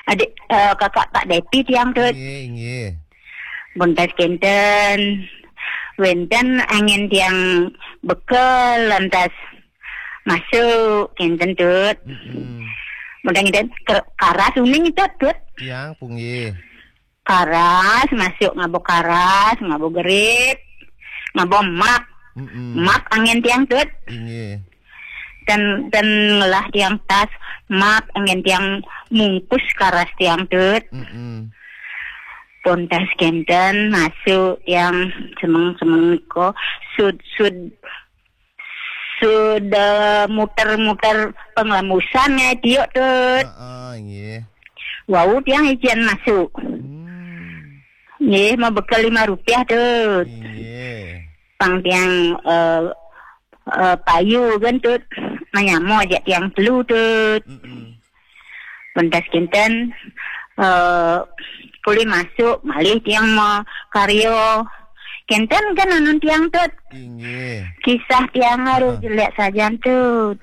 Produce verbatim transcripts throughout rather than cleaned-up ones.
Adik, eh, kakak Pak Depi tiang, Tut. Inggih, inggih. Bontas kenten. Wenten angin tiang bekel lantas masuk kenten, Tut. Mm-mm. Bontas kenten ker-, karas uning, Tut, Tut. Tiang punggih. Karas masuk ngabo karas, ngabo gerit, ngabo mak. Mm-mm. Mak angin tiang, Tut. Inggih. Dan, dan ngelah tiang tas, mak angin tiang mungkus karas tiang, Tut. Mm-mm. Bontas kenten masuk tiang semeng-semeng ko sud-sud sudah muter-muter penglembusan ya, Tio, Tut. Heeh, inggih. Wau tiang ijen masuk. Hmm. Nggih, mau bekel lima rupiah, Tut. Inggih. Pang tiang, eh, eh, payu kan, Tut. Manyamo aja tiang telu, Tut. Mm-mm. Pentas kinten, eh, pulih masuk, malih tiang mau karyo. Kinten kan anun tiang, Tut. Inggih. Kisah tiang harus jelek sajan, Tut.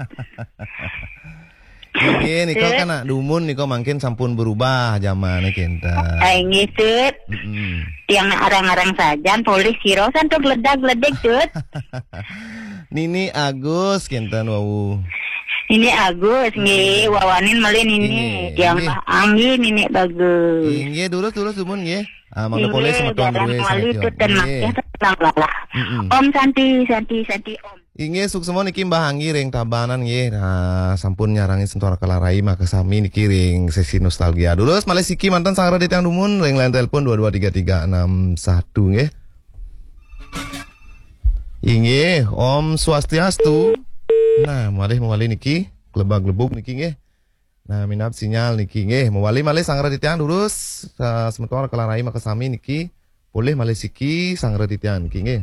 Inggih, nika kan nak dumun nika mangkin sampun berubah zamane kinten. Ah, inggih, Tut. Mm-mm. Tiang nak arang-arang sajan, polih siro santo geledag-geledik, Tut. Nini Agus kinten wau. Nini Agus, nggih, wawanin malih Nini. Inggih, tiang inggih. Mbah Anggi, Nini Bagus. Inggih, durus, durus, dumun, nggih. Ah, mangda polih semeton darah ruwe wali sameton. Tut dan nggih. Makia tenang lalah. Mm-mm. Om Santi, Santi, Santi, Om. Inggih, suksma niki Mbah Anggi ring Tabanan nggih. Nah, sampun nyarangi Sentuhan Kalarai makasami niki ring sesi nostalgia. Durus malih siki manten sanggra di tiang dumun ring line telepon dua dua tiga tiga enam satu nggih. Inggih, Om Swastiastu. Nah, malih mawali niki, klebag-klebug niki nggih. Nah, minab sinyal niki nggih. Mawali malih sanggra di tiang durus, sa-, semeton Kalarai makasami niki. Polih malih siki sanggra di tiang niki nggih.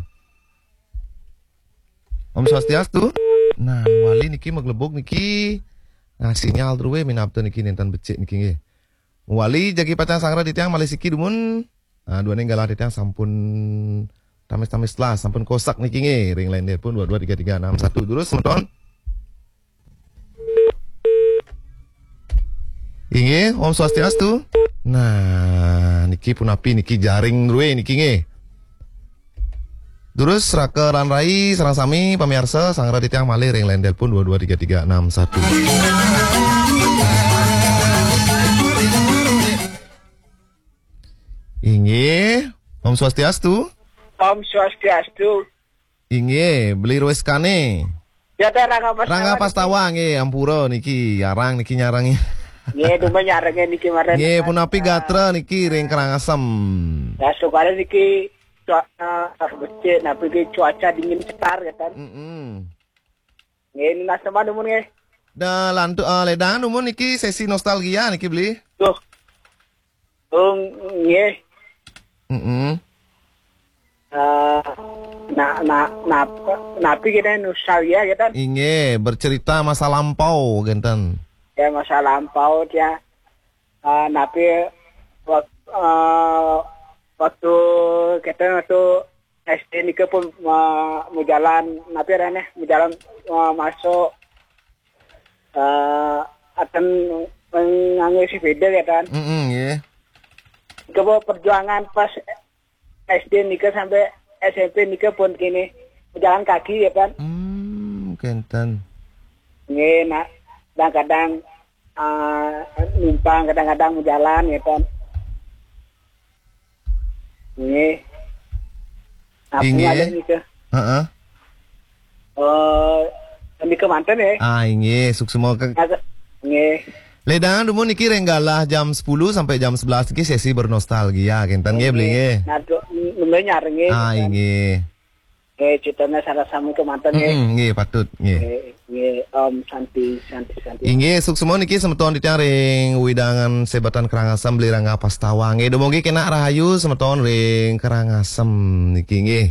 Om Swastiastu. Nah, mawali niki maglebug niki. Nah, sinyal druwe minab tu niki nenten becik niki nggih. Mawali jagi pacang sanggra di tiang malih siki dumun. Nah, duaning galah di tiang sampun tamis-tamis lah, sampun kosak niki nggih. Ring line telepon dua dua tiga tiga enam satu. Durus semeton. Inggih, Om Swastiastu. Nah, niki punapi niki jaring druwe niki nggih. Durus raka ran rai sareng sami pamiarsa sanggra di tiang malih ring line telepon dua dua tiga tiga enam satu. Inggih, Om Swastiastu. Om Swastiastu. Inggih, Beli Rueskane. Ya, teh, Rangga Pastawa. Rangga Pastawa, nggih, ampura niki, arang niki nyarangi. Nggih, dumun nyarangi niki maren. Nggih, punapi gatra niki ring Karangasem. Ya, sukare niki cuaca, eh, becik, napi niki cuaca dingin setar, ya, kan? Mm-mm. Nggih, nunas teman dumun, nggih. Da lantu, eh, ledang dumun niki sesi nostalgia niki, Beli. Duh. Oh, nggih. Mm-mm. Eh, na-, na-, nap-, napi kita nostalgia kita? Inggih, bercerita masa lampau, kinten. Ya, masa lampau, ya. Eh, napi wak-, eh, waktu kita waktu S D nika pun, eh, majalan, napi aranne, majalan, eh, masuk, eh, akan nganggo sepeda, ya, kan? Mm-mm, nggih. Nika perjuangan pas S D nika sampai S M P nika pun kene berjalan kaki, ya, kan? Hmm, kenten. Nggih, nah, kadang-kadang, eh, numpang, kadang-kadang berjalan, ya, kan? Nggih. Aku inggih. Ngalih nika. Heeh. Eh, nika manten, ya. Ah, inggih, suksma ke- Nggih. Ledang dumun niki ring galah jam sepuluh sampai jam sebelas niki sesi bernostalgia, kenten nggih, Beli, nggih. Nah, tu, nggih, nyar, nggih, ah, kenten. Inggih. Nggih, cetane sareng sami kemanten, nggih. Mm-mm, nggih, patut, nggih. Nggih, nggih, Om Santi, Santi, Santi. Inggih, suksma niki semeton titiang ring wewidangan Sebatan Karangasem, Beli Rangga Pastawa. Nggih, dumugi kenak rahayu semeton ring Karangasem niki, nggih.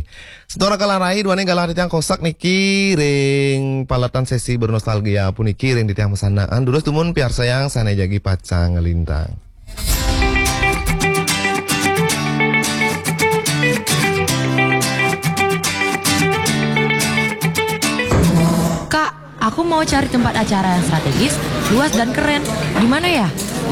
Semeton Raka Larai, duaning galah titiang kosak niki ring paletan sesi bernostalgia puniki ring titiang masandekan. Durus dumun piarsayang sane jagi pacang nglintang. Kak, aku mau cari tempat acara yang strategis, luas dan keren. Di mana ya?